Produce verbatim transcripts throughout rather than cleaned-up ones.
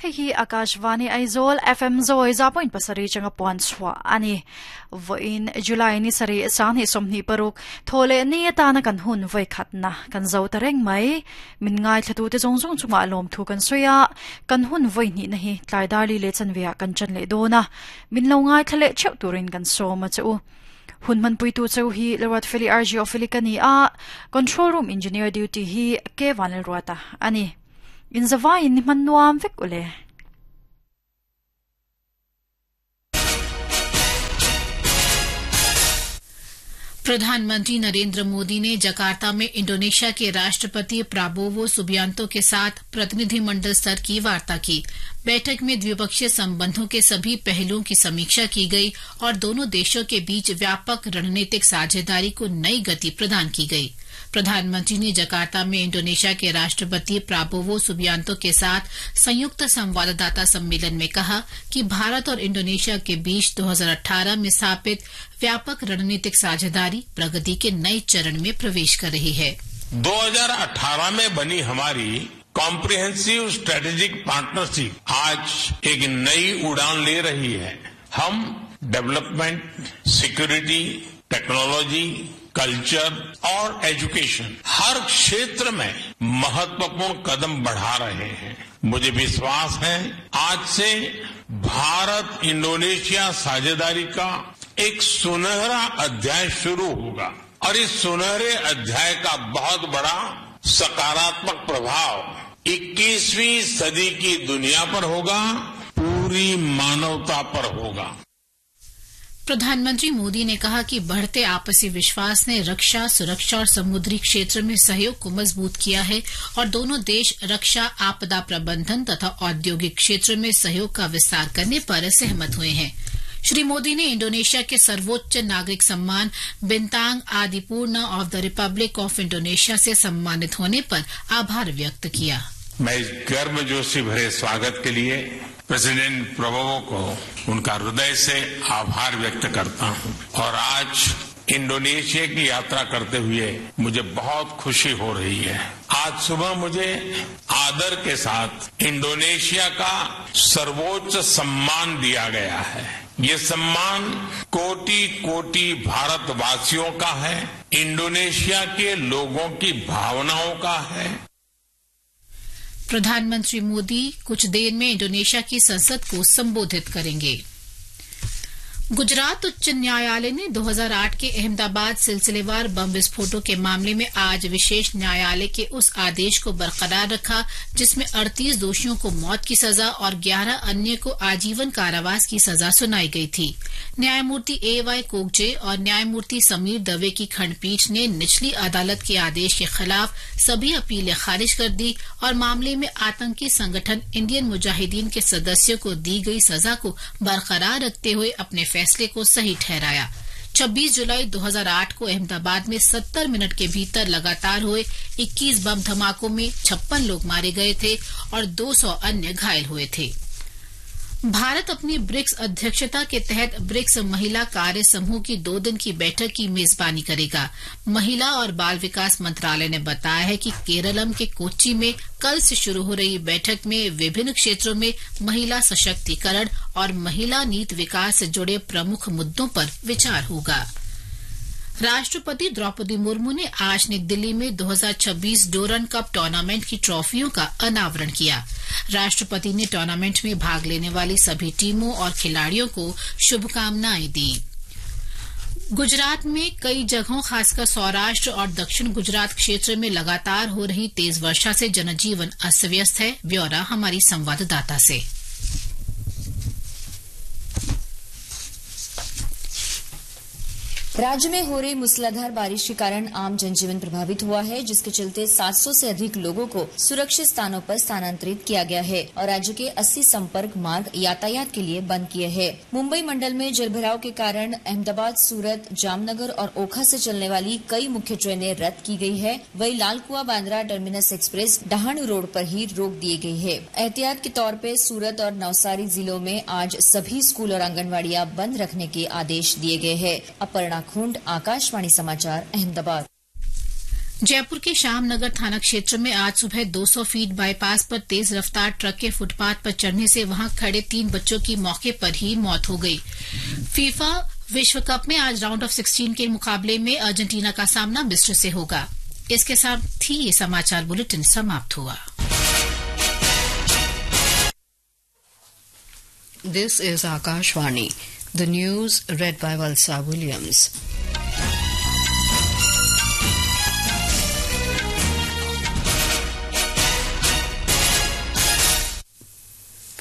Hei hi Akashvani Aizawl F M Zoi za point pasarih changa puan chhuah a ni. Vawiin July ni sarih sanghnih sawmhnih paruk thawhleh ni atana kan hun vawi khatna kan zo ta reng mai. Min ngai thlatu te zawng zawng chungah lawm thu kan sawi a, kan hun vawi hnih na hi tlai darli leh chanveah kan chan leh dawn a, min lo ngai thla leh theuh turin kan sawm a che u. Hun manpui tu cheu hi Leruat Feli R G Ofeli ka ni a, control room engineer duty hi K Vanel Ruata ani. In zawai in ni man nuam vek ule. प्रधानमंत्री नरेंद्र मोदी ने Jakarta में Indonesia के राष्ट्रपति Prabowo Subianto के साथ प्रतिनिधिमंडल स्तर की वार्ता की। बैठक में द्विपक्षीय संबंधों के सभी पहलुओं की समीक्षा की गई और दोनों देशों के बीच व्यापक रणनीतिक साझेदारी को नई गति प्रदान की गई। प्रधानमंत्री ने जकार्ता में इंडोनेशिया के राष्ट्रपति प्राबोवो सुबियांतो के साथ संयुक्त संवाददाता सम्मेलन में कहा कि भारत और इंडोनेशिया के बीच दो हज़ार अठारह में स्थापित व्यापक रणनीतिक साझेदारी प्रगति के नए चरण में प्रवेश कर रही है। दो हज़ार अठारह में बनी हमारी comprehensive strategic partnership आज एक नई उड़ान ले रही है। हम development, security, technology, culture और एजुकेशन हर क्षेत्र में महत्वपूर्ण कदम बढ़ा रहे हैं। मुझे विश्वास है आज से भारत इंडोनेशिया साझेदारी का एक सुनहरा अध्याय शुरू होगा और इस सुनहरे अध्याय का बहुत बड़ा सकारात्मक प्रभाव इक्कीसवीं सदी की दुनिया पर होगा, पूरी मानवता पर होगा। प्रधानमंत्री मोदी ने कहा कि बढ़ते आपसी विश्वास ने रक्षा, सुरक्षा और समुद्री क्षेत्र में सहयोग को मजबूत किया है और दोनों देश रक्षा, आपदा प्रबंधन तथा औद्योगिक क्षेत्र में सहयोग का विस्तार करने पर सहमत हुए हैं। श्री मोदी ने इंडोनेशिया के सर्वोच्च नागरिक सम्मान Bintang Adipurna of the Republic of Indonesia से सम्मानित होने पर आभार व्यक्त किया। मैं इस गर्मजोशी भरे स्वागत के लिए प्रेसिडेंट प्रबोवो को उनका हृदय से आभार व्यक्त करता हूं और आज इंडोनेशिया की यात्रा करते हुए मुझे बहुत खुशी हो रही है। आज सुबह मुझे आदर के साथ इंडोनेशिया का सर्वोच्च सम्मान दिया गया है। ये सम्मान कोटि कोटि भारतवासियों का है, इंडोनेशिया के लोगों की भावनाओं का है। प्रधानमंत्री मोदी कुछ देर में इंडोनेशिया की संसद को संबोधित करेंगे। गुजरात उच्च न्यायालय ने दो हज़ार आठ के अहमदाबाद सिलसिलेवार बम विस्फोटों के मामले में आज विशेष न्यायालय के उस आदेश को बरकरार रखा जिसमें अड़तीस दोषियों को मौत की सजा और ग्यारह अन्य को आजीवन कारावास की सजा सुनाई गई थी। न्यायमूर्ति ए वाई कोकजे और न्यायमूर्ति समीर दवे की खंडपीठ ने निचली अदालत के आदेश के खिलाफ सभी अपीलें खारिज कर दी और मामले में आतंकी संगठन इंडियन मुजाहिदीन के सदस्यों को दी गई सजा को बरकरार रखते हुए अपने फैसले को सही ठहराया। छब्बीस जुलाई दो हज़ार आठ को अहमदाबाद में सत्तर मिनट के भीतर लगातार हुए इक्कीस बम धमाकों में छप्पन लोग मारे गए थे और दो सौ अन्य घायल हुए थे। भारत अपनी ब्रिक्स अध्यक्षता के तहत ब्रिक्स महिला कार्य समूह की दो दिन की बैठक की मेजबानी करेगा। महिला और बाल विकास मंत्रालय ने बताया है कि केरलम के कोच्चि में कल से शुरू हो रही बैठक में विभिन्न क्षेत्रों में महिला सशक्तिकरण और महिला नीति विकास से जुड़े प्रमुख मुद्दों पर विचार होगा। राष्ट्रपति द्रौपदी मुर्मू ने आज नई दिल्ली में दो हज़ार छब्बीस Durand cup tournament की ट्रॉफियों का अनावरण किया। राष्ट्रपति ने टूर्नामेंट में भाग लेने वाली सभी टीमों और खिलाड़ियों को शुभकामनाएं दी। गुजरात में कई जगहों, खासकर सौराष्ट्र और दक्षिण गुजरात क्षेत्र में लगातार हो रही तेज वर्षा से जनजीवन अस्त व्यस्त है। ब्यौरा हमारी संवाददाता से। राज्य में हो रही मूसलाधार बारिश के कारण आम जनजीवन प्रभावित हुआ है, जिसके चलते सात सौ से अधिक लोगों को सुरक्षित स्थानों पर स्थानांतरित किया गया है और राज्य के अस्सी संपर्क मार्ग यातायात के लिए बंद किए हैं। मुंबई मंडल में जलभराव के कारण अहमदाबाद, सूरत, जामनगर और ओखा से चलने वाली कई मुख्य ट्रेनें रद्द की गई है। वहीं Lalkuan Bandra terminus express Dahanu road पर ही रोक दी गई है। एहतियात के तौर पर सूरत और नवसारी जिलों में आज सभी स्कूल और आंगनवाड़ियां बंद रखने के आदेश दिए गए हैं। अपर्णा खूंड, आकाशवाणी समाचार, अहमदाबाद। Jaipur के श्यामनगर थाना क्षेत्र में आज सुबह दो सौ फीट बाईपास पर तेज रफ्तार ट्रक के फुटपाथ पर चढ़ने से वहां खड़े तीन बच्चों की मौके पर ही मौत हो गई। फीफा विश्व कप में आज राउंड ऑफ सोलह के मुकाबले में अर्जेंटीना का सामना मिस्र से होगा। इसके साथ ही ये समाचार बुलेटिन समाप्त हुआ। This is Akashvani. The news read by Valsa Williams.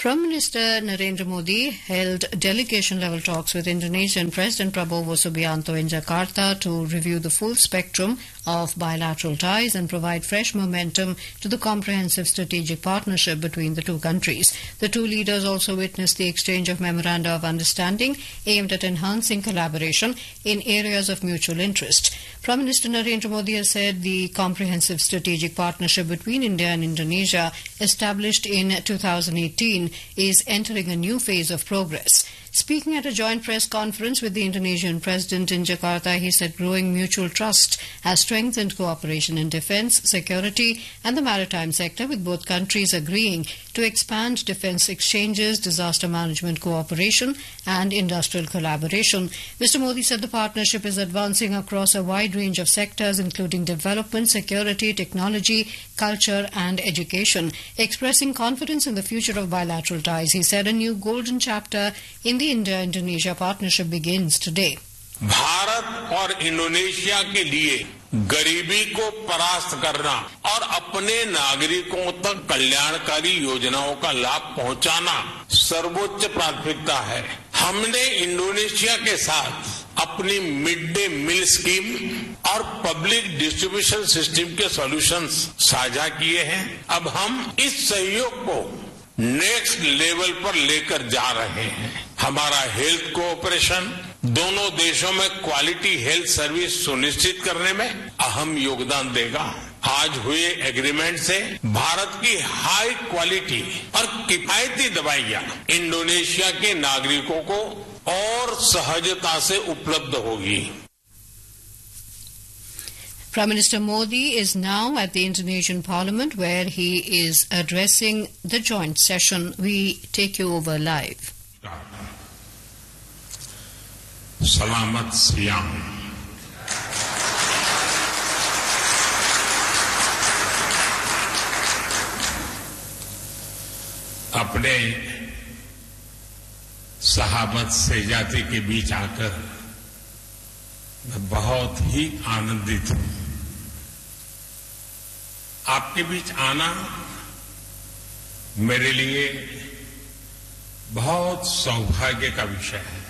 Prime Minister Narendra Modi held delegation level talks with Indonesian President Prabowo Subianto in Jakarta to review the full spectrum of bilateral ties and provide fresh momentum to the comprehensive strategic partnership between the two countries. The two leaders also witnessed the exchange of memoranda of understanding aimed at enhancing collaboration in areas of mutual interest. Prime Minister Narendra Modi has said the comprehensive strategic partnership between India and Indonesia, established in twenty eighteen, is entering a new phase of progress. Speaking at a joint press conference with the Indonesian president in Jakarta, he said growing mutual trust has strengthened cooperation in defense, security, and the maritime sector, with both countries agreeing to expand defense exchanges, disaster management cooperation, and industrial collaboration. Mister Modi said the partnership is advancing across a wide range of sectors, including development, security, technology, culture, and education. Expressing confidence in the future of bilateral ties, he said a new golden chapter in the India Indonesia partnership begins today. Bharat और Indonesia के लिए गरीबी को परास्त करना और अपने नागरिकों तक कल्याणकारी योजनाओं का लाभ पहुंचाना सर्वोच्च प्राथमिकता है। हमने इंडोनेशिया के साथ अपनी mid day meal scheme और public distribution system के सॉल्यूशंस साझा किए हैं। अब हम इस सहयोग को नेक्स्ट लेवल पर लेकर जा रहे हैं। हमारा हेल्थ कोऑपरेशन दोनों देशों में quality health service सुनिश्चित करने में अहम योगदान देगा। आज हुए एग्रीमेंट से भारत की हाई क्वालिटी और किफायती दवाइयां इंडोनेशिया के नागरिकों को और सहजता से उपलब्ध होगी। Prime Minister Modi is now at the Indonesian Parliament, where he is addressing the joint session. We take you over live. Selamat siang. अपने sahabat sejati के बीच आकर मैं बहुत ही आनंदित हूं। आपके बीच आना मेरे लिए बहुत सौभाग्य का विषय है।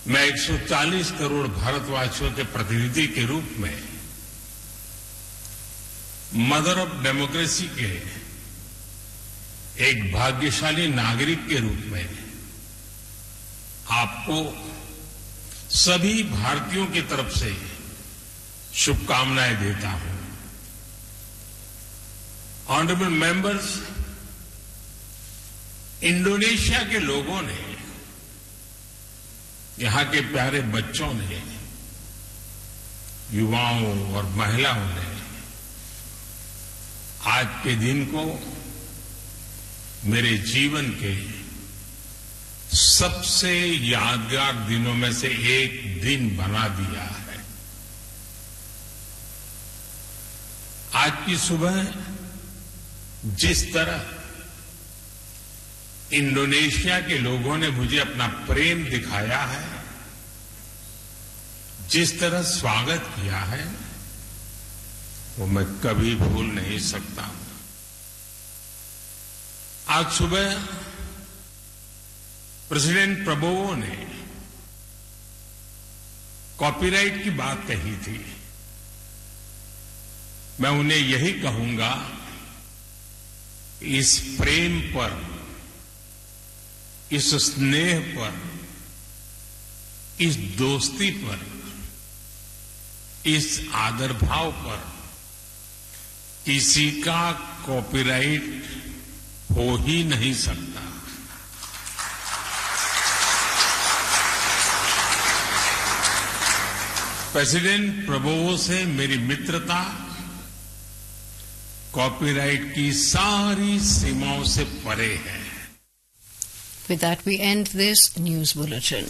मैं एक सौ चालीस करोड़ भारतवासियों के प्रतिनिधि के रूप में, mother of democracy के एक भाग्यशाली नागरिक के रूप में आपको सभी भारतीयों की तरफ से शुभकामनाएं देता हूं। Honourable members, Indonesia के लोगों ने, यहां के प्यारे बच्चों ने, युवाओं और महिलाओं ने आज के दिन को मेरे जीवन के सबसे यादगार दिनों में से एक दिन बना दिया है। आज की सुबह जिस तरह इंडोनेशिया के लोगों ने मुझे अपना प्रेम दिखाया है, जिस तरह स्वागत किया है, वो मैं कभी भूल नहीं सकता। आज सुबह प्रेसिडेंट प्रबोवो ने कॉपीराइट की बात कही थी। मैं उन्हें यही कहूंगा, इस प्रेम पर, इस स्नेह पर, इस दोस्ती पर, इस आदर भाव पर किसी का कॉपीराइट हो ही नहीं सकता। President Prabowo से मेरी मित्रता कॉपीराइट की सारी सीमाओं से परे है। With that, we end this news bulletin.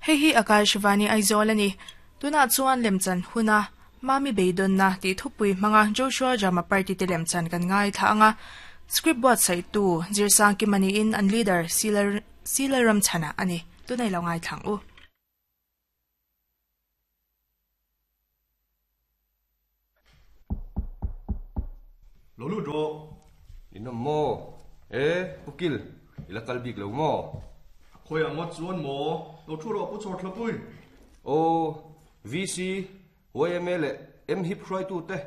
Hei hi Akashvani Aizawl ani tuna chuan lemchan huna mami beidon na ti thupui hmanga Joshua Drama Party te lemchan kan ngai thla anga script board sai tu Zirsang Kimani in an leader Silar Silaram Chana ani tunai lo ngai thlang u. Lo lu ro Inom mo e pukil ila kalbik lo mo khoi angot chuan mo lo thu ro pu chor thlapui o V C Y M L M hip hrai tu te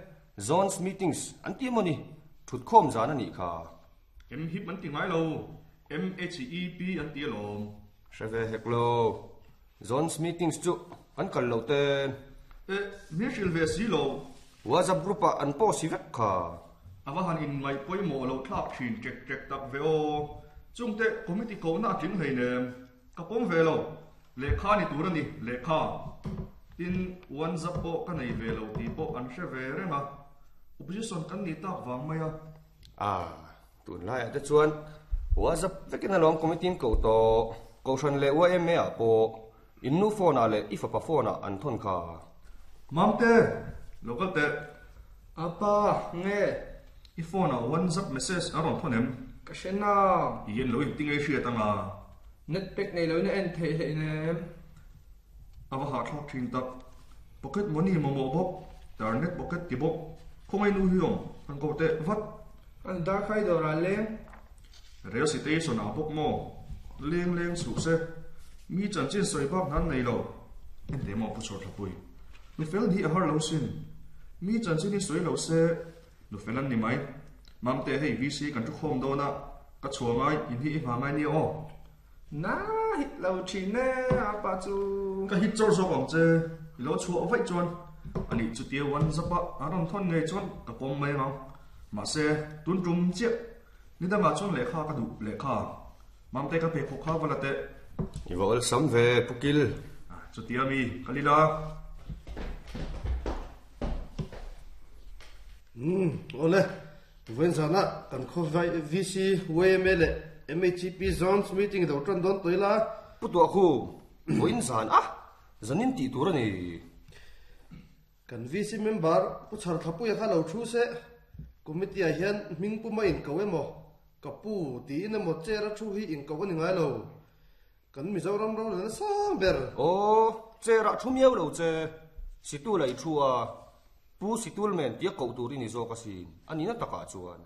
zones meetings an ti moni thut khom zan ani kha. M hip an ti ngai lo M H E P an ti lom hreve hek lo zones meetings chu an kal lo te e mi hril ve si lo WhatsApp group a an post si vek kha. Awa han in ngai poi mo lo thlak thin chek chek tak ve o chungte committee ko na tling hlei nem ka pom ve lo lekha ni tur ani lekha tin one zap po ka nei ve lo ti po an hre ve renga opposition kan ni tak wang mai a. A tun lai te chuan WhatsApp vekin along committee ko to ko than le Y M A a po in nu phone a le ifa pa phone a an thon kha. Mamte local te apa nge i phone a one zap message aron thonem ka shena yen lo in tingai hria tanga net pack nei lo na en thei hlei nem awa ha thlak thin tak pocket money mo mo bok tar net pocket ti bok khongai nu hiong an ko te vat an dar khai do ra leng rail station a bok mo leng leng su se mi chan chin soi bak nan nei lo en te mo pu chor thapui nu fel hi a har lo sin mi chan chin ni soi lo se nu felan ni mai mamte hei V C kan thu khom do na ka chuangai in hi ma ngai ni o na hit lo thin ne apa chu ka hit chor zo ang che lo chu vai chuan ani chu tia wan zapa aron thon ngei chuan ka pom mai ma ma se tun tum che ni da ma chuan lekha ka du lekha mamte ka pe khokha walate I wol sam ve pukil chu tia mi kalila. Hmm ole ven zana kan kho V C Y M L M H P zones meeting do tran don toila putu khu voin zan a zanin ti tur ani kan V C member pu char thapu ya kha lo thu se committee a hian ming pu ma in ko emo kapu ti in emo chera thu hi in ko ani ngai lo kan Mizoram ro na sang ber o chera thu miau lo che situ lai thu a pu situl men tia ko tur ini zo ka sin ani na taka chuan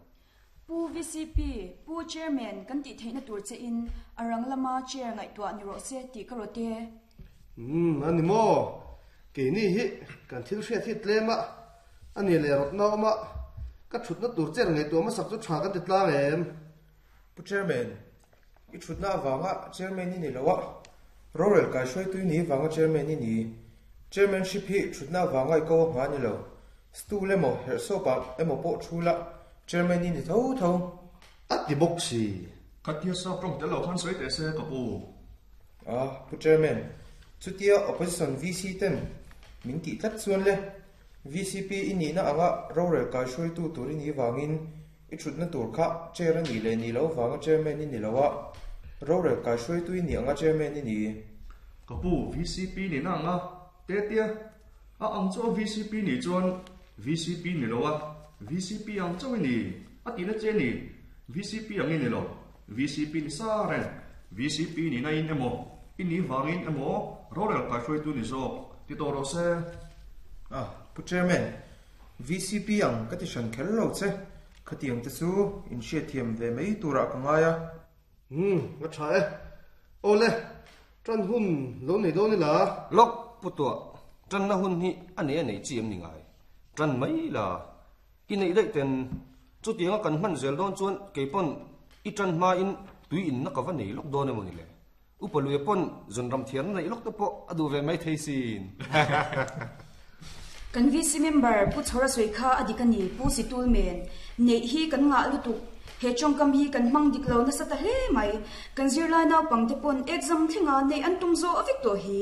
pu V C P pu chairman kan ti theina tur che in arang lama chair ngai to ani ro se ti ka ro te. Hmm ani mo ke ni hi kan thil hre thi tlema ani le rot na ma ka thut na tur cher ngai to ma sak chu tha kan ti tlang em. Pu chairman i thut na wanga chairman ni ni lowa rorel kai shroi tu ni wanga chairman ni ni chairmanship hi thut na wanga ko nga ni lo stu le mo her so pa emo po thula chairman ni ni tho tho at ti box si khatia sa prong te lo khan soi te se ka pu a pu chairman chutia opposition V C ten min ti tlat chuan le V C P ini na anga rorel kai shroi tu tur ni wangin i thut na tur kha chair ani le ni lo wanga chairman ni ni lowa rorel kai shroi tu ni anga chairman ni ni ka pu V C P ni na anga te tia a ang cho V C P ni chuan V C P ni lowa V C P ang chaw ni a ti na che ni V C P ang ni lo V C P ni sa ren V C P ni na in emo ini wangin emo rorel kai shroi tu ni zo ti to ro se. A pu chairman V C P ang ka ti shan khel lo che khatiang te chu in she thiam ve mai tura ka ngaya. Hmm nga tha e ole tran hun lo nei do ni la lok putua tran na hun hi ane nei chi em ni ngai tran mai la i nei dai ten chu tianga kan man zel don chuan keipon i tran ma in tui in na ka va nei lok don emoni le upalu pon zon ram thian nei lok te po adu ve mai thei sin. Kan V C member pu chhora soi kha adikani pu situl men nei hi kan nga lutuk he chongkam hi kan mang diklo na sa ta hle mai kan zirlai naw pangte pon exam thinga nei an tum zo avik to hi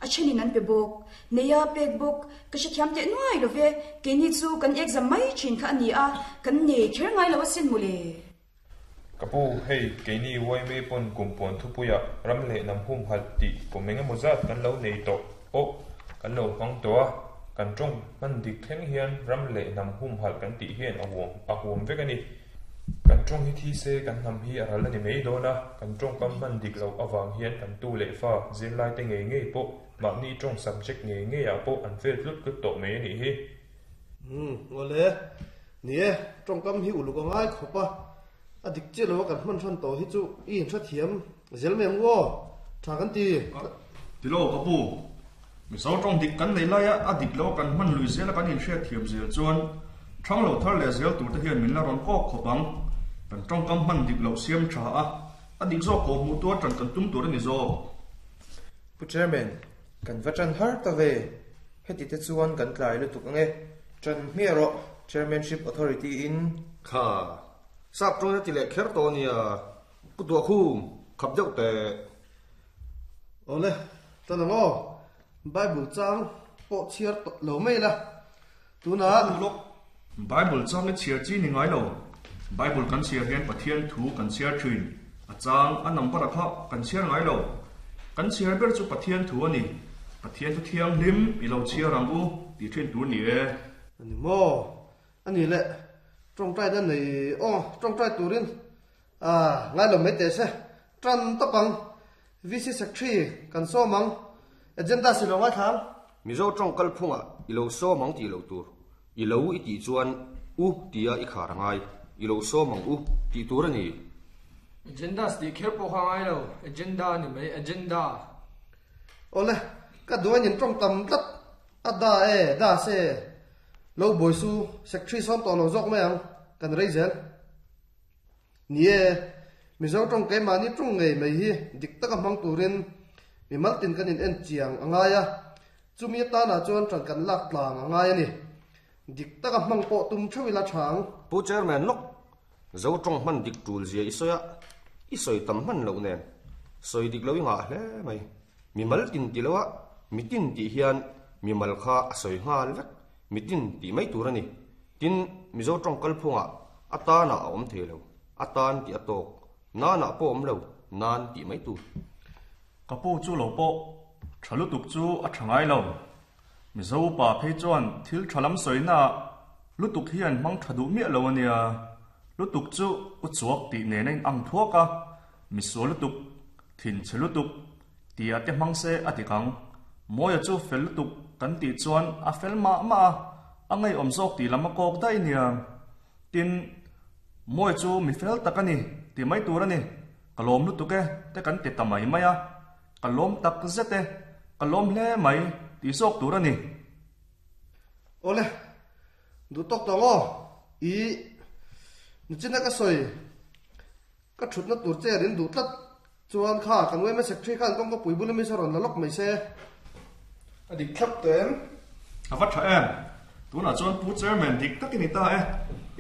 a chenin an pe bok neya pek bok ka she thiam te nuai love ke ni chu kan exam mai chin kha ani a kan nei kher ngai lo sin mule kapu hei ke ni wai me pon kumpon thupuya ramle nam hum hal ti komenga mozat kan lo nei to o kan lo hang to a kan tong man dik thleng hian ramle nam hum hal kan ti hian a huam a huam vek ani kan tong hi thi se kan nam hi aral ani mei dona kan tong kam man dik lo awang hian kan tu le fa zirlai te ngei ngei po ma ni tong subject ngei ngei a po an fel tlut tlut to mei ani hi um ngole nie tong kam hi ulu ka ngai khopa a dik che lo kan man than to hi chu i in tha thiam zel mem wo tha kan ti ti lo ka pu mi so tong dik kan nei lai a dik lo kan man lui zel kan in hre thiam zel chuan thang lo thar le zel tur te hian min la ron kok khopang kan tong kam man dik lo siam tha a a dik zo ko mu tu tran kan tum tur ani zo pu chairman kan vachan har ta ve heti te chuan kan tlai lu tuk ange tran mi ro chairmanship authority in kha sap tong ti le kher to nia pu tu khum khap deuh te ole tan mo bible chang po chiar lo mai la tuna lok bible chang le chiar chi ni ngai lo bible kan chiar hian pathian thu kan chiar thin a chang a number kha kan chiar ngai lo kan chiar ber chu pathian thu ani pathian thu thiang hlim i lo chiar ang u ti thin tur ni e ani mo ani le trong trai dan nei o trong trai turin à ngai lo mai te se tran topang V C secretary kan so mang agenda si lo ngai thang mizo tong kal phunga i lo so mang ti lo tur i lo i ti chuan u tia i khar ngai i lo so mang u ti tur ani agenda sti kher po kha ngai lo agenda ni mai agenda ole ka duan in tong tam tlat ada e da se lo boi su secretary som to lo jok mai ang kan rei zel nie mizo tong ke mani tung ngei mai hi dik taka mang turin mi maltin kan in en chiang angaya chumi ta na chuan tran kan lak tlang angaya ni dik taka mang po tum thawila thang pu chairman lok zo tong man dik tul zia isoya isoi tam man lo nen soi dik lo nga hle mai mi maltin ti lowa mitin ti hian mi mal kha soi ngal vek mitin ti mai tur ani tin mizo tong kal phunga atana a om thelo atan ti atok na na po om lo nan ti mai tur kapu chu lo po thalu tuk chu a thangai lo mizo pa phei chuan thil thalam soina lutuk hian mang thadu mi lo ania lutuk chu u chuak ti ne nei ang thuaka miso lutuk thin che lutuk tia te mang se atikang moya chu fel lutuk kan ti chuan a fel ma ma angai om zok ti lama kok dai nia tin moi chu mi fel takani ti mai tur ani kalom lutuk e te kan ti tamai maya kalom tak zete kalom hle mai ti sok tur ani ole du tok tongo i nichina ka soi ka thutna tur che rin du tlat chuan kha kan wema secretary khan kong ko puibul mi saron la lok mai se adik thlap tem avat tha em tuna chuan pu chairman dik takin ta e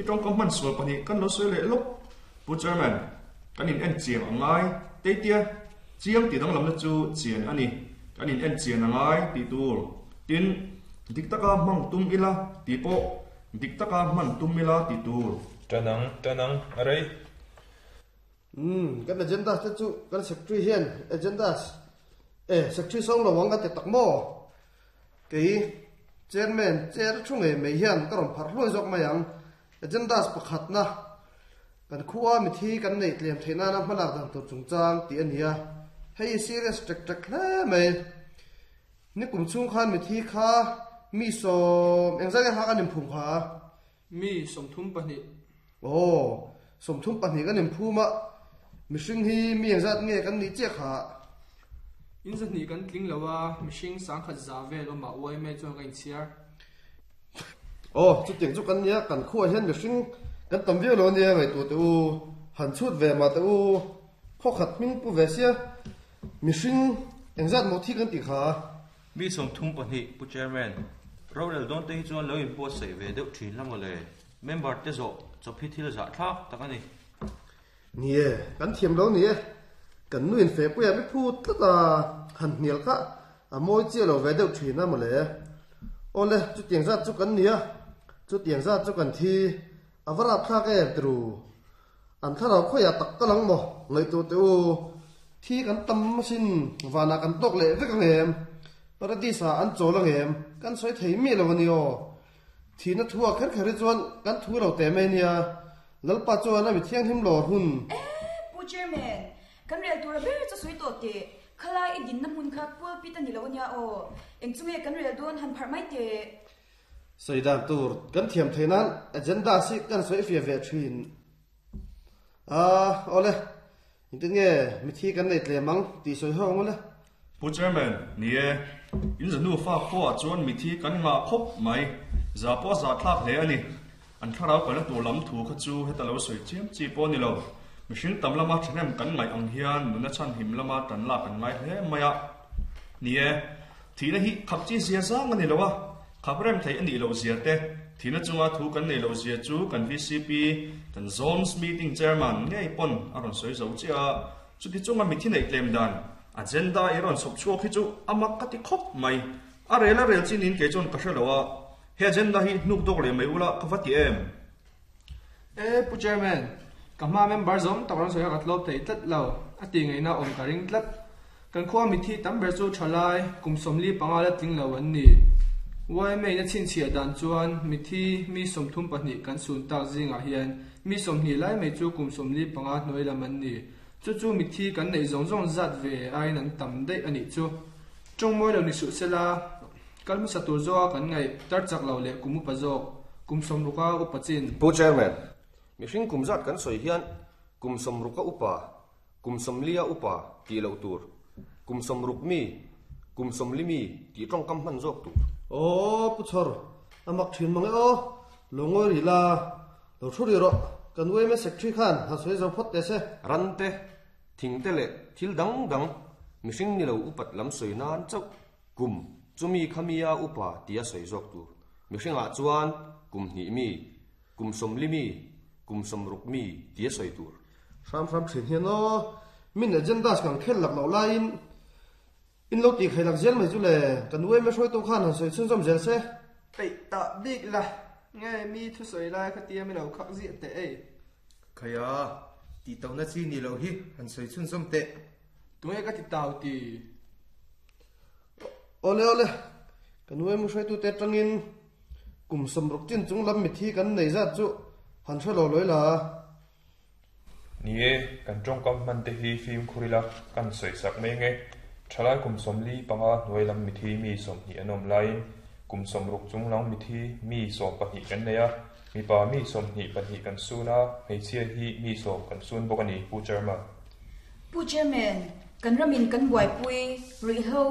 i tong kom man sual pani kan lo soi le lok pu chairman kan in en chiang angai te tia chiang ti dang lam na chu chian ani kan in en chian angai ti tur tin dik taka mang tum ila ti po dik taka man tum ila ti tur tanang tanang arei um kan agenda te chu kan secretary hian agenda e secretary song lo wang ka te tak mo ke chairman chair thu nge mei hian ka ron phar hloi jok mai ang agenda pakhat na kan khuwa mi thi kan nei tlem theina na hmalak dang tur chungchang ti ania hei serious tek tek hle mai ni kum chung khan mi thi kha mi som engzai ha kan im phum kha mi som thum pahni o som thum pahni kan im phuma mi hring hi mi engzat nge kan ni che kha in zat ni kan tling lawa mi hring sang khat za vel ma oi me chuan ka in chiar o chu tiang chu kan nia kan khuwa hian mi hring kan tam viau lo nia ngai tu te u han chut ve ma te u kho khat ming pu ve sia mi hring engzat mo thi kan ti kha mi som thum pahni pu chairman Rorel don te hi chuan lo in buat sei ve deuh thin la mawle member te zo chawp hi thil zah thlak tak ani nie kan thiam lo nie kan nuin fe puya mi phu tlata han hnial kha a moi che lo ve deuh thin a mawle ole chu tiang zat chu kan nia chu tiang zat chu kan thi avara thlak em tru an tharau khoya tak kalang mo ngai tu te u thi kan tam sin wana kan tok le vek ngem paradisa an chola ngem kan soi thei mi lo ani o thi na thua kher kher chuan kan thu lo te me nia lalpa chuan a mi thiang him lor hun pu chairman kan rel tur ber chu soi to te khala i din na mun kha pul pi ta ni lo nia o eng chunge kan rel don han phar mai te saidan tur kan thiam theinan agenda si kan soi fia ve thin a ole intin nge mi thi kan nei tle mang ti soi hong ole pu chairman nie in zanu fa kho chuan mi thi kan nga khop mai za po za thlak hle ani an tharau kan tu lam thu kha chu heta lo soi chiam chi po ni lo mihring tam lama thnem kan ngai ang hian nuna chan him lama tan la kan ngai hle maya nie thi na hi khap chi zia zang ani lowa khaprem thei ani lo zia te thina chunga thu kan nei lo zia chu kan V C P kan zones meeting chairman ngei pon aron soi zo chia chuti chunga mi thi nei tlem dan agenda iron sop chuak hi chu amak ka ti khop mai a rela rel chin in ke chon ka hrelowa he agenda hi nuk dok le mai ula ka vati em e pu chairman ka ma member zom takron soya katlop thei tlat lo ati ngai na om ka ring tlat kan khuwa mi thi tam ber chu thalai kum somli panga la tling lo an ni wai mei na chin chia dan chuan mi thi mi somthum pahnih kan sun tak zinga hian mi somhni lai mei chu kum somli panga hnoi lam an ni chu chu mi thi kan nei zong zong zat ve ain an tam dei ani chu chongmoi lo ni su sela kalmu satur zo kan ngai tar chak lo le kumu pa zo kum somruka upachin pu chairman mi hring kum zat kan soi hian kum somruka upa kum somlia upa ti lo tur kum somruk mi kum somlimi ti tong kam man zok tur o pu chor amak thin mang o longoi ri la lo thu ri ro kan wei me secretary khan ha soi zo phot te se ran te thing te le thil dang dang mi hring ni lo upat lam soi nan chau kum chumi khamia upa tia soi zok tur mi hringa chuan kum hni mi kum somli mi kum somruk mi tia soi tur ram ram thin hian o min agenda kan khel lak lo lain in lo ti khailak zel mai chu le kan wei me soi to khan han soi chun zom zel se pei ta bik la nge mi thu soi lai kha tia mi lo khak zi te ei khaya ti tau na chi ni lo hi han soi chun zom te tu nge ka ti tau ti ole ole kan wei mu soi tu te tangin kum somruk chin chung lam mi thi kan nei za chu han thalo loi la nie kan tong kam man te hi phim khurila kan soi sak mai nge thalai kum somli panga hnuai lam mi thi mi som hi anom lain kum somruk chung lang mi thi mi som pahnih kan neia mi pa mi som hi pahnih kan suna hmeichhia hi mi som kan sun bawk ani pu chairman pu chairman kan ramin kan buai pui ri ho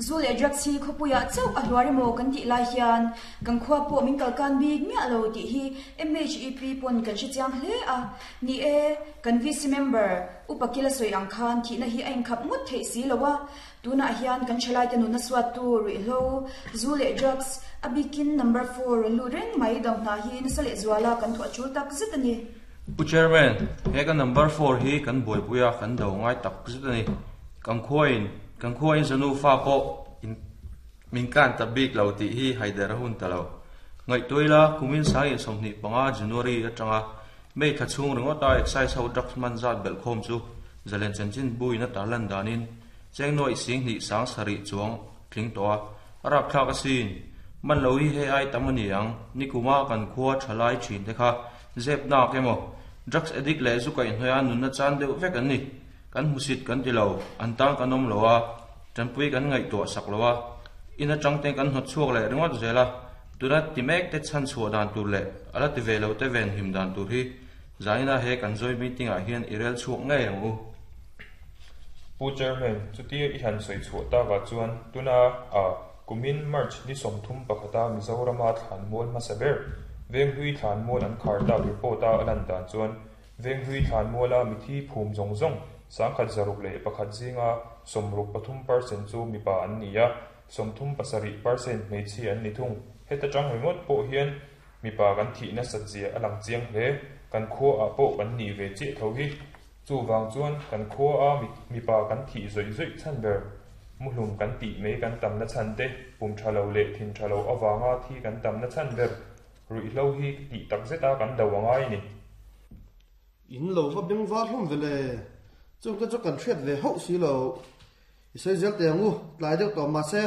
zu le drugs hi khopuya chau a hluari mo kan ti lai hian kan khwa po min kal kan bik mi alo ti hi M H E P pon kan shi chiang hle a ni e kan V C member upakila soi ang khan thi na hi ain khap ngut thei si lowa tuna hian kan chalai te nu na swat tu ri ho zu le drugs abikin number four lu reng mai dam na hi na sale zwala kan thu achul tak zet ani pu chairman he kan number four hi kan boi puya kan do ngai tak zet ani kan khoin kan khoin zanu fa po in min kan tabik lo ti hi haider hun talo ngai toila kumin sai somni panga January atanga mei kha chung ringota excise ho drugs man zat bel khom chu zalen chanchin buina tarlan danin chengnoi sing ni sang sari chuang tling to arap thak asin man lo hi he ai tamani ang nikuma kan khuwa thalai thin te kha zep na kemo drugs addict le zu kai hnoya nun na chan deuh vek an ni kan musit kan ti lo an tang kanom lowa tanpui kan ngai to sak lowa ina changte kan hnot chuak le ringot zela tuna timek te chan chhuah dan tur le ala ti ve lo te ven him dan tur hi zaina he kan zoi meeting ah hian irel chuak ngei ang u pu chairman chuti i han soi chu ta ga chuan tuna a kumin March ni somthum pakhata Mizorama thlan mual hmasaber veng hui thlan mual an khar ta report a alan dan chuan veng hui thlan muala mithi phum zong zong sangkhat zaruk le pakhat zinga somruk pathum percent chu mipa an ni a somthum pasarih percent hmeichhia an ni thung. Heta tang ringot pawh hian mipa kan thihna satzia a lang chiang hle. Kan khua ah pawh kan ni ve chiah tho hi. Chu wang chuan kan khua a mipa kan thih zawih zawih chan ber. Muhlum kan tih mai kan tam na chan te, pum tha lo leh thin tha lo awanga thi kan tam na chan ber. Ruih hlo hi tih tak zeta kan do angai ni. In lo va beng var hlawm vele. Chung te chu kan hriat ve hauh si lo. I sawi zel te angu, tlai deuh tawh mahse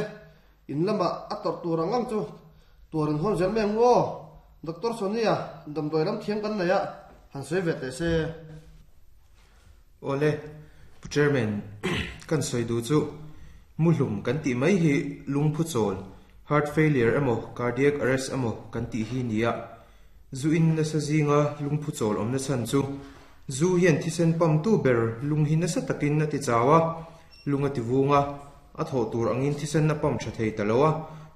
in lama a tawrh tur ang ang chu tuarin hawn zel mai angu aw. Doctor Sonia, damdawi lam thiam kan nei a, han sawi ve teh se. Ole, Pu Chairman, kan sawi du chu muhlum kan tih mai hi lungphu chawl, heart failure emaw cardiac arrest emaw kan tih hi nia. Zu in nasa zinga lungphu chawl awm na chan chu zu hian thisen pam tu ber lung hi nasa takin a ti chawa, lung a ti vunga, a thaw tur angin thisen na pam tha thei taloa,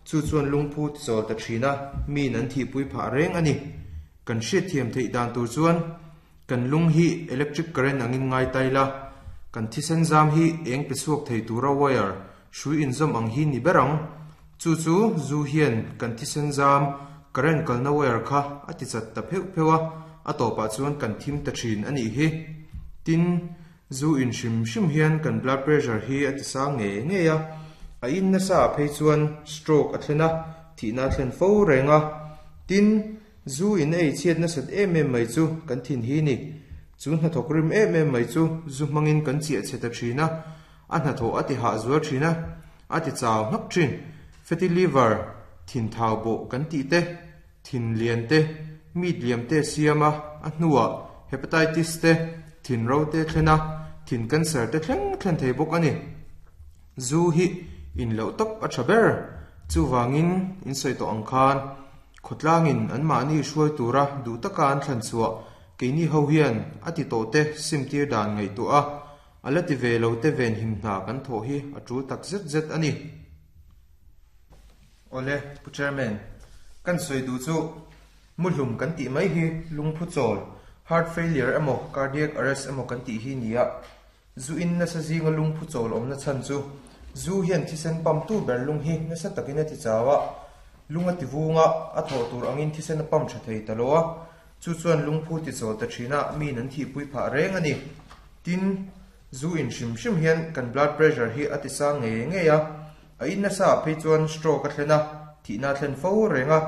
chu chuan lungphu ti chawl ta thina, mi nan thi pui pha reng ani. Kan hriat thiam thei dan tur chuan kan lung hi electric current angin ngai taila, kan thisen zam hi eng pe suak thei tura wire shui in zam ang hi ni berang. Chu chu zu hian kan thisen zam current kalna wire kha ati chat ta pheu phewa, a topa chuan kan thim ta thin ani hi. Tin zu in shim shim hian kan blood pressure hi ati sang nge nge ya, a in na sa phei chuan stroke a thlena, thi na thlen fo renga. Tin zu in ei chiat na sat em em mai chu kan thin hi ni. Chu hna thok rim em em mai chu zu mangin kan chia che ta thina, a hna tho ati ha zuar thina, ati chaw hnak thin. Fatty liver thin thau bo kan ti te, thin lian te, mit liam te siama, a hnuwa hepatitis te, thin ro te thlena, thin cancer te thleng thlen thei bawk ani. Zu hi in lo top a tha ber. Chu wangin in sawi to ang khan khotlangin an mahni hruai tura duh taka an thlan chhuah keini ho hian ati to te simtir dan ngai tu a, ala ti ve lo te ven him hna kan thaw hi a tul tak zet zet ani. Ole, Pu Chairman, kan sawi du chu muhlum kan tih mai hi lungphu chawl, heart failure emaw cardiac arrest emaw kan tih hi nia. Zu in nasa zinga lungphu chawl awm na chan chu zu hian thisen pam tu ber lung hi nasa takin a ti chawa, lung a ti vunga, a thaw tur angin thisen a pam tha thei taloa, chu chuan lungphu ti chawl ta thina, mi nan thi pui pha reng ani. Tin zu in hrim hrim hian kan blood pressure hi a ti sang nge nge ya, a in nasa phei chuan stroke a thlena, thi na thlen fo renga.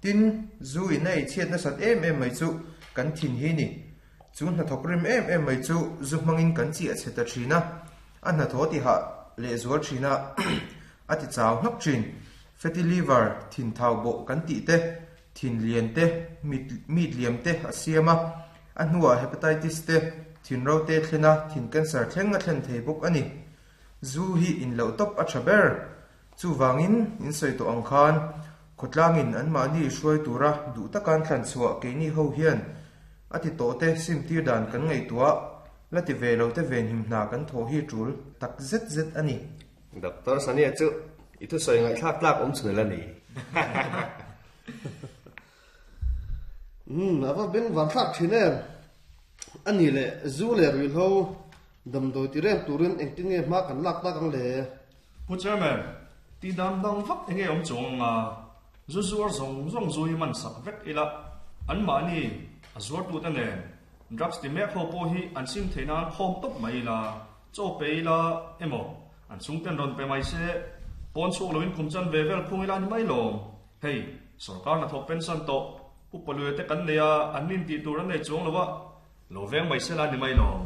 Tin zu in ei chiat na sat em em mai chu kan thin hi ni. Chu hna thok rim em em mai chu zu mangin kan chi a che ta thina, a hna tho ti ha le zuar thina, a ti chaw hnak thin. Fatty liver thin thau bo kan ti te, thin lian te, mit mit liam te a siama, a hnuwa hepatitis te, thin ro te thlena, thin cancer thleng a thlen thei bawk ani. Zu hi in lo top a tha ber. Chu wangin in sawi to ang khan khotlangin an mahni hruai tura duh takan thlan chhuah keini ho hian ati to te simtir dan kan ngai tua, la ti ve lo te ven him hna kan thaw hi tul tak zet zet ani. Doctor Sania chu i thu sawi ngai thlak tlak awm chhun la ni. Hmm, ava beng var thlak thin em. Ani le zu le ri hlo damdawi ti rem turin engtin nge hma kan lak tak ang le. Pu Chairman, ti dam dang vak enge awm chung nga zu zuar zong zong zui man sak vek ila, an mahni a zuar tu te nen drugs ti mek ho pawh hi an sim theih nan khawm tawp mai ila, chaw pe ila emaw an chung ten rawn pe mai se, pawn chhuak loin kum chan ve vel phung ila ni mai lawm. Hei sarkar na thawk pension tawh pu palui te kan nei a, an nin tih tur an nei chuang lowa, lo veng mai se la ni mai lawm.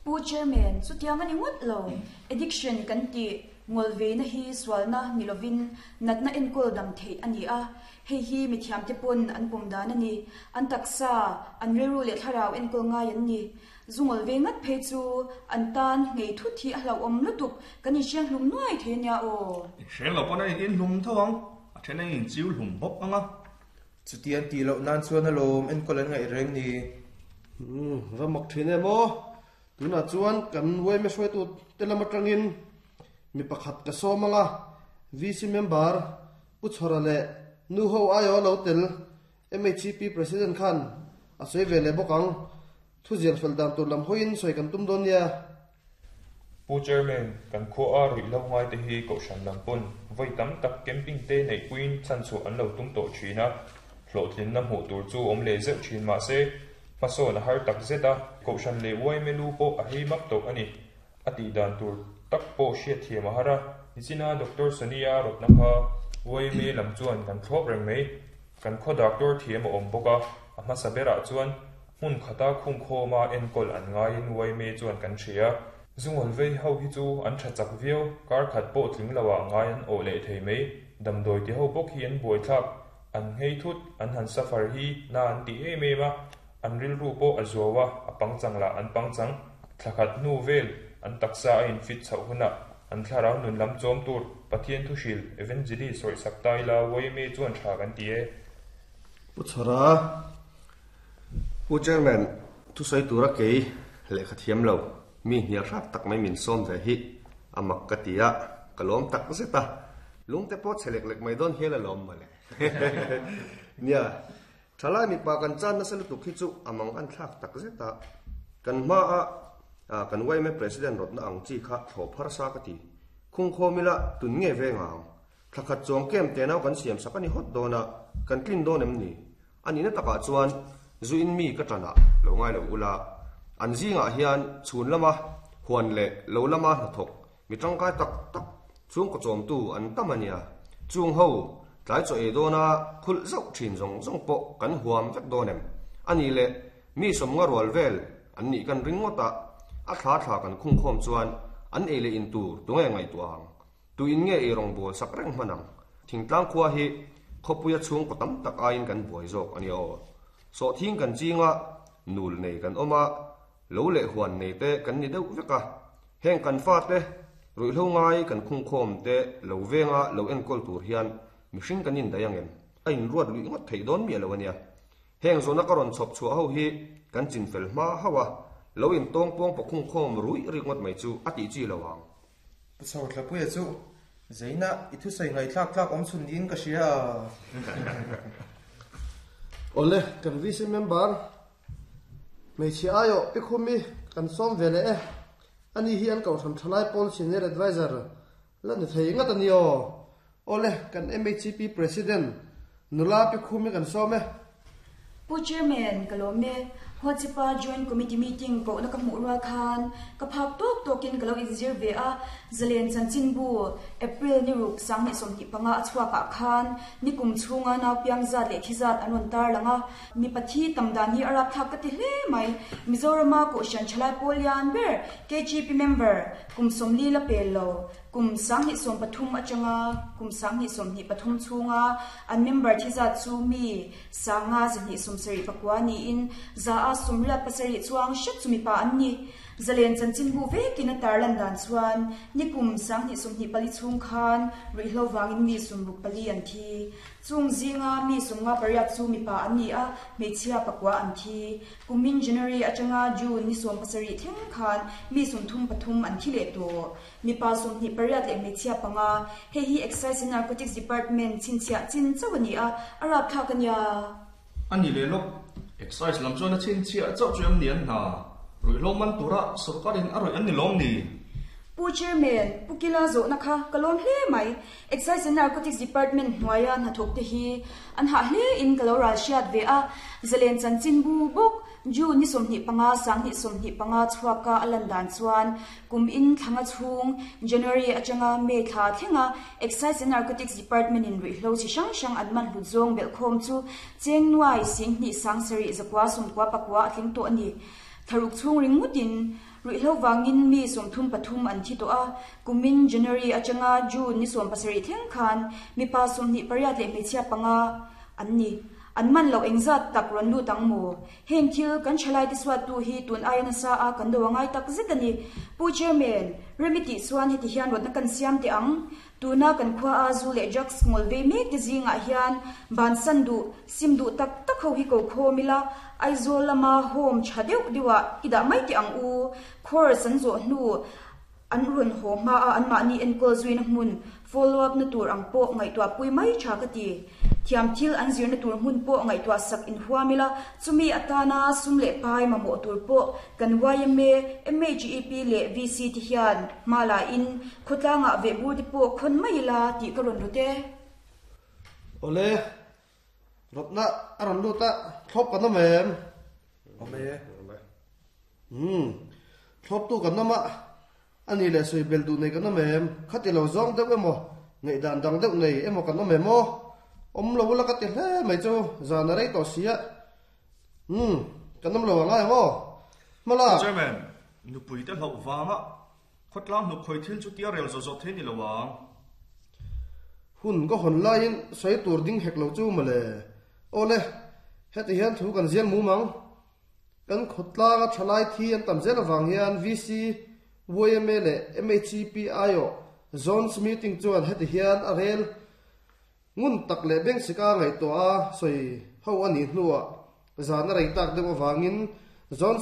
Pu Chairman, chu tiang ani ngut lo. Addiction kan ti ngol ve na hi swalna nilovin natna enkol dam thei ani a. Hei hi mi thiam te pon an pum dan ani, an taksa an reru le tharau enkol ngai an ni. Zungol ve ngat phei chu an tan ngei thu thi a hlo om lutuk kan in siang hlum nuai the nia o. Hreng lo pon in hlum thawang a then in chiu hlum bawk anga. Chutian ti lo nan chuan a lawm enkol an ngai reng ni. Hmm, va mak thin em aw. Tuna chuan kan wai me hruai tu te lama tangin mi pakhat ka somanga V C member pu chhora le nu ho ayo lo tel M H P president khan a soi ve le bokang thu zial fel dan tur lam hoin soi kan tum don nia. Pu chairman kan kho a rui lo ngai te hi ko shan lam pun voi tam tak camping te nei puin chan chu an lo tum to thina hlotlin na hmu tur chu om le zeuh thin ma se paso na har tak zeta ko shan le wai melu po a hei mak to ani ati dan tur tak po hriat thiam a hara nichina Doctor Sonia rotna kha wai me lam chuan kan thlop reng mai kan kho doctor thiam a awm bawk a a hmasa berah chuan hmun khata khung khawma enkawl an ngaiin wai me chuan kan hria zungol vei ho hi chu an tha chak viau kar khat pawh tling loah ngai an awh leh thei mai damdawi ti ho bawk hi an buai thlak an ngei thut an han safar hi na an ti em em a an ril ru pawh a zuawa a pangchang lah an pangchang thlakhat hnu vel an taksa a in fit chhoh hunah an thlarau nun lam chawm tur Pathian thu hril evangelist sawi sak tai la wai me chuan tha kan ti e. Pu Chhara Pu chairman thu sawi tura kei lehkha thiam lo mi hnial hrat tak mai min sawm ve hi amak ka ti a ka lawm tak zeta lungte pawh chelek lek mai dawn hial a lawm mawle nia thalai mipa kan chan nasa lutuk hi chu amang an thlak tak zeta kan hma a kan Y M A president rotna ang chi kha thlawh phar sa ka ti khung khawmila tun nge ve ngang thlakhat chuang kem te nau kan siam sak ani hot dawna kan tlin dawn em ni ani na takah chuan zu in mi ka tana lo ngai lo ula an zingah hian chhun lama huan le lo lama hnathawk mi tangkai tak tak chung ko chawm tu an tam ania chung ho tlai chaw ei dawna khul zauh thin zawng zawng pawh kan huam vek dawn em ani le mi sawmnga rual vel an nih kan ring ngawt a a thla thla kan khung khawm chuan an ei le in tur tunge ngai tuang tu in nge ei rawng bawl sak reng hmanang thingtlang khua hi khawpuia chhung ko tam tak aiin kan buai zawk ani aw so thing kan chinga nul nei kan awma lo le huan nei te kan ni deuh veka heng kan fa te ruihhlo ngai kan khung khawm te lo venga lo enkawl tur hian mihring kan in dai angem a in ruat lui ngawt thei dawn mi alo ania heng zona ka rawn chhawp chhuah ho hi kan chin fel hma hawa lo in tawng pawng pa khung khawm rui ri ngawt mai chu a ti chi lo ang. Pu Chhor Thlapuia chu zaina i thu sawi ngai thlak thlak awm chhun niin ka hria. Ole kan V C member hmeichhe aio pi khumi kan sawm ve le e ani hi an kohhran thalai pawl senior advisor la ni thei ngat ani aw ole kan M H P president nula pi khumi kan sawm e. Pu chairman kalome Hochipa joint committee meeting ko na ka hmu rual khan ka phak tok tokin ka lo inzir ve a zalen chanchin bu April ni ruk sang ni somni panga achhuaka khan ni kum chunga naw piang zat le thi zat anon tar langa mi pathi tamdan hi arap thak ka ti hle mai Mizorama ko shan chalai polian ber K G P member kum somli la pel lo kum sang ni som pathum achanga kum sang ni som ni pathum chunga an member thi zat chu mi sanga zani som sari pakwa ni in za a sumriat pasari chuang shet chumi pa an ni zalen chanchin bu vekin a tarlan dan chuan nikum sang ni sum ni pali chung khan ruihhlo wangin mi sumruk pali an thi chung zinga mi sumnga pariat chu mi pa an ni a hmeichhia pakwa an thi kumin January atanga June ni som pasari thleng khan mi sum thum pathum an thi le to mi pa sum ni pariat le hmeichhia panga hei hi Excise and Narcotics Department chinchhia chin chawani a arap thak ania ani le lok Excise lam chuan a chinchhia chauh chu em ni an hna ruihhlo man tura sarkarin a rawih an ni lawm ni. Pu chairman pu kila zo na kha kalom hle mai Excise and Narcotics Department hnuaia hnathawk te hi an ha hle in kalo ral hriat ve a zalen chanchin bu bawk June ni sawmhnih panga sang ni sawmhnih panga chhuaka a lan dan chuan kum in thlanga chhung January atanga May thla thlenga Excise and Narcotics Department in ruihhlo chi hrang hrang an man hlut zawng belh khawm chu cheng nuai sing hnih sang sarih zakua sawmkua pakua a tling tawh ani tharuk chhung ring ngutin ruihhlo wangin mi sawmthum pathum an thi tawh a kumin January atanga June ni sawm pasarih thleng khan mipa sawmhnih pariat leh hmeichhia panga an ni an man lo engzat tak rawn lut ang maw heng thil kan thalai te suat tu hi tun aia nasa a kan do angai tak zet ani. Pu chairman remiti chuan heti hian rawtna kan siam te ang tuna kan khua a zu leh drugs ngol ve mek te zingah hian ban san du sim du tak tak ho hi ko khawmila Aizawl lama home tha deuh deuha ida mai te ang u course an zawh hnu an run ho hma a an mahni enkawl zuina hmun follow up na tur ang pawh ngaihtuah pui mai tha ka ti. Thiam thil an zirna tur hmun pawh ngaihtuah sak inhuam ila, chumi atana sum leh pai mamawh tur pawh kan Y M A, M H E P leh V C te hian hma la in khawtlangah vehbur te pawh khawn mai ila tih ka rawn rawt e. Ole rotna aron luta thlop kan awm em? Awm e. Hmm thlop tu kan awm a, ani le soi bel du nei kan awm em? Khati lo zawng deuh emaw nei dan dang deuh nei emaw kan awm em aw? Om lo la ka ti hle mai chu, zan a rei tawh sia. Hmm kan awm lo angai ang aw mala. Chairman, nupui te hloh wanga khawtlang hnuk khoi thil chu tia rel zo zo thei ni lo ang. Hun ka hon laiin soi tur ding hek lo chu male. Ole, heti hian thu kan zial mu mang. Kan khawtlanga thalai thi an tam zel awang hian V C, Y M A le M H E P aio zones meeting chuan heti hian a rel. Ngun tak le beng sika ngai to a soi ho ani hnuwa zan a rei tak deuh awangin zones